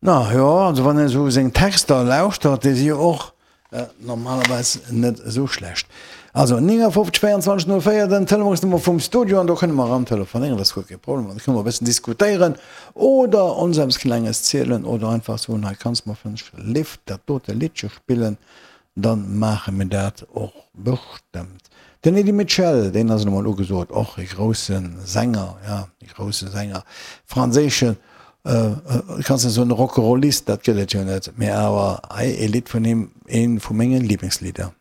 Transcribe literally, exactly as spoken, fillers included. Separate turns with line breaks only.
Na jo, also wann een esou seng Texter lauschtert, déi si jo och normalerweis net esou schlecht. Also néngafofzeg véierundzwanzeg null véier den Telefonsnummer vum Studio an do kënne mer eran telefonéieren, dat ass guer kee Problem an da kënne mer e bëssen diskutéieren oder ons eppes Klenges zielen oder einfach soen, hei kanns mer fënneg Lift dat dote Liddche spillen, dann maache mir dat och bestëmmt. Den Eddy Mitchell, deen ass elo mol ugesot, och e grousse Sänger, ja, e grousse Sänger, franséischen, kanns net soen Rock'n'Rollist, dat gëtt et jo net, mee awer hei e Lidd vun him, eent vu menge Liblingslieder.